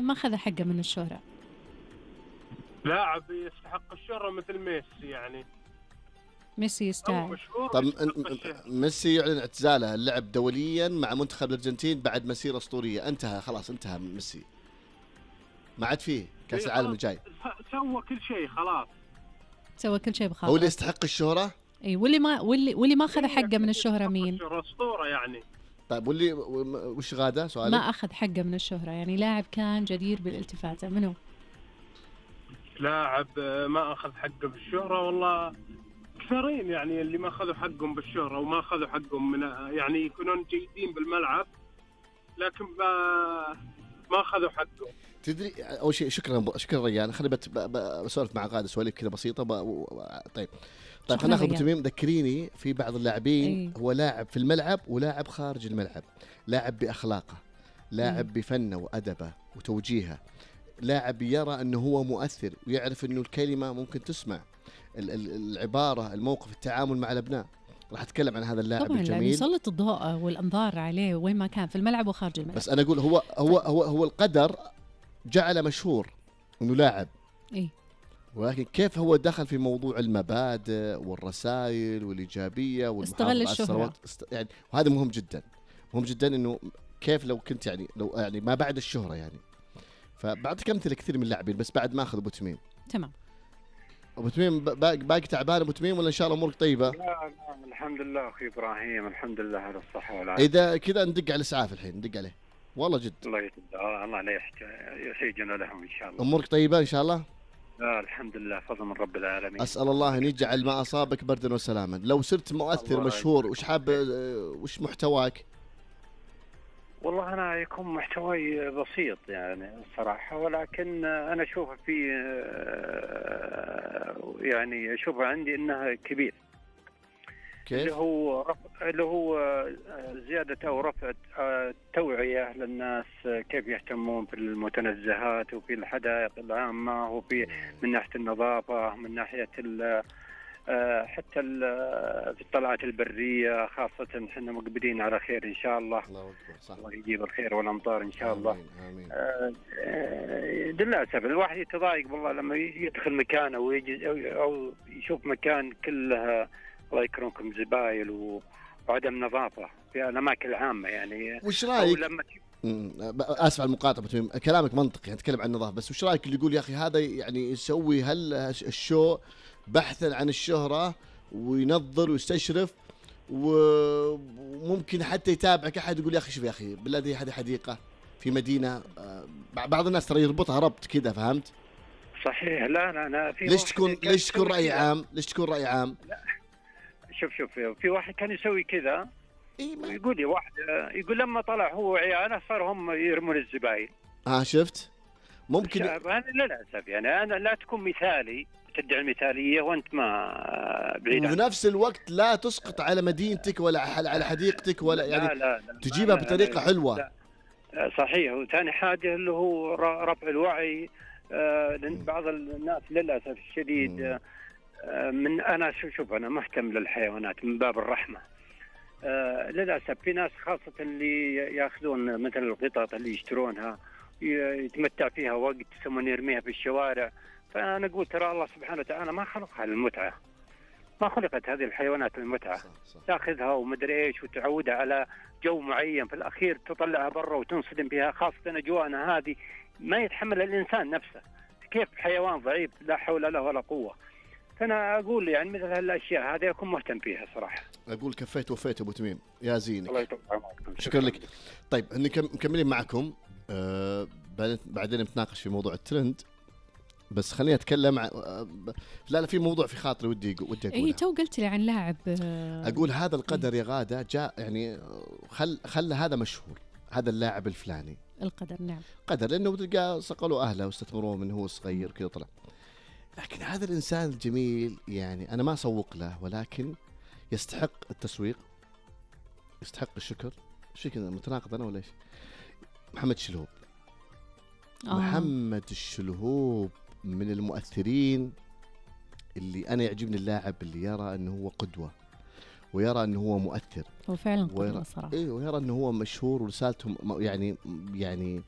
ما أخذ حقه من الشهرة. لاعب يستحق الشهرة مثل ميسي، يعني ميسي يستاهل. طب ميسي يعلن اعتزاله اللعب دوليا مع منتخب الأرجنتين بعد مسيرة أسطورية، انتهى خلاص، انتهى ميسي، ما عاد فيه كأس العالم الجاي، سوى كل شيء خلاص، سوى كل شيء بخاطر. هو اللي يستحق الشهرة. اي واللي ما اخذ حقه من الشهرة مين؟ أسطورة يعني. طيب واللي وش غاده سؤالي؟ ما اخذ حقه من الشهرة، يعني لاعب كان جدير بالالتفات، منو؟ لاعب ما اخذ حقه بالشهرة، والله كثيرين يعني اللي ما اخذوا حقهم بالشهرة وما اخذوا حقهم من يعني يكونون جيدين بالملعب لكن ما اخذوا حقهم. تدري اول شيء شكرا ريان، خليني بسولف مع غاده سواليف كذا بسيطه طيب خلينا ناخذ تميم. ذكريني في بعض اللاعبين هو لاعب في الملعب ولاعب خارج الملعب، لاعب باخلاقه، لاعب بفنه وادبه وتوجيهه، لاعب يرى انه هو مؤثر ويعرف انه الكلمه ممكن تسمع، العباره، الموقف، التعامل مع الابناء. راح اتكلم عن هذا اللاعب طبعاً الجميل، يسلط الضوء والانظار عليه وين ما كان في الملعب وخارج الملعب. بس انا اقول هو القدر جعله مشهور انه لاعب، ولكن كيف هو دخل في موضوع المبادئ والرسائل والايجابيه والمحافظه على الثروات يعني، وهذا مهم جدا، مهم جدا انه كيف لو كنت لو ما بعد الشهره يعني. فبعطيك امثله كثير من اللاعبين، بس بعد ما اخذ ابو تميم. تمام. ابو تميم باقي تعبان ابو تميم ولا ان شاء الله امورك طيبه؟ لا الحمد لله اخي ابراهيم، الحمد لله على الصحه والعافيه. اذا كذا ندق على الاسعاف الحين، ندق عليه والله جد. الله لا يحيجنا لهم ان شاء الله. امورك طيبه ان شاء الله؟ لا الحمد لله، فضل من رب العالمين. اسال الله ان يجعل ما اصابك بردا وسلاما. لو صرت مؤثر مشهور وش حاب، وش محتواك؟ والله أنا يكون محتواي بسيط يعني الصراحة، ولكن أنا أشوف في يعني أشوف عندي إنها كبير. كيف؟ اللي هو زيادة أو رفع التوعية للناس، كيف يهتمون في المتنزهات وفي الحدائق العامة وفي من ناحية النظافة، من ناحية حتى في الطلعات البرية، خاصة احنا مقبلين على خير إن شاء الله. الله يجيب الخير والأمطار إن شاء الله. آمين. للأسف الواحد يتضايق والله لما يدخل مكانه ويجي أو يشوف مكان كلها الله يكرمكم زبايل وعدم نظافة في الأماكن العامة يعني. وش رأيك؟ آسف على المقاطعة، كلامك منطقي، نتكلم عن النظافة، بس وش رأيك اللي يقول يا أخي هذا يعني يسوي الشو بحثا عن الشهرة وينظر ويستشرف وممكن حتى يتابعك أحد يقول يا أخي شوف يا أخي بالله هذه حديقة في مدينة، بعض الناس ترى يربطها ربط كذا، فهمت؟ صحيح. لا أنا في ليش تكون رأي عام؟ ليش تكون رأي عام؟ لا شوف في واحد كان يسوي كذا يقول لي واحد يقول لما طلع هو وعياله صار هم يرمون الزبايل. شفت؟ ممكن أنا للأسف يعني أنا لا تكون مثالي، تدعي المثالية وأنت ما بعيد، وفي نفس الوقت لا تسقط على مدينتك ولا على حديقتك ولا يعني لا تجيبها بطريقة حلوة. لا. صحيح. وثاني حاجة اللي هو رفع الوعي، لأن بعض الناس للأسف الشديد من أنا شوف أنا مهتم للحيوانات من باب الرحمة. للأسف في ناس خاصة اللي يأخذون مثل القطط اللي يشترونها يتمتع فيها وقت ثم يرميها في الشوارع. فأنا أقول ترى الله سبحانه وتعالى ما خلقها للمتعة، ما خلقت هذه الحيوانات للمتعة. تأخذها ومدري إيش وتعودها على جو معين، في الأخير تطلعها برا وتنصدم بها، خاصة أجواءنا هذه ما يتحمل الإنسان نفسه، كيف حيوان ضعيف لا حول له ولا قوة. فأنا أقول يعني مثل هالأشياء هذه أكون مهتم فيها صراحة. أقول كفيت وفيت أبو تميم يا زينك. الله يطول عمرك. شكرا لك. طيب مكملين معكم، بعدين نتناقش في موضوع الترند، بس خليني أتكلم لا في موضوع في خاطري ودي أقوله. تو قلت لي عن لاعب، أقول هذا القدر يا غادة جاء يعني خلى هذا مشهور، هذا اللاعب الفلاني. القدر نعم قدر، لأنه تلقى صقلوا أهله واستثمروه من هو صغير كذا طلع. لكن هذا الإنسان الجميل يعني أنا ما أسوق له، ولكن يستحق التسويق، يستحق الشكر. شو كذا متناقض أنا ولا إيش؟ محمد الشلهوب. محمد الشلهوب من المؤثرين اللي أنا يعجبني، اللاعب اللي يرى أنه هو قدوة ويرى أنه هو مؤثر، هو فعلا قدوة صراحة. ويرى أنه هو مشهور ورسالته يعني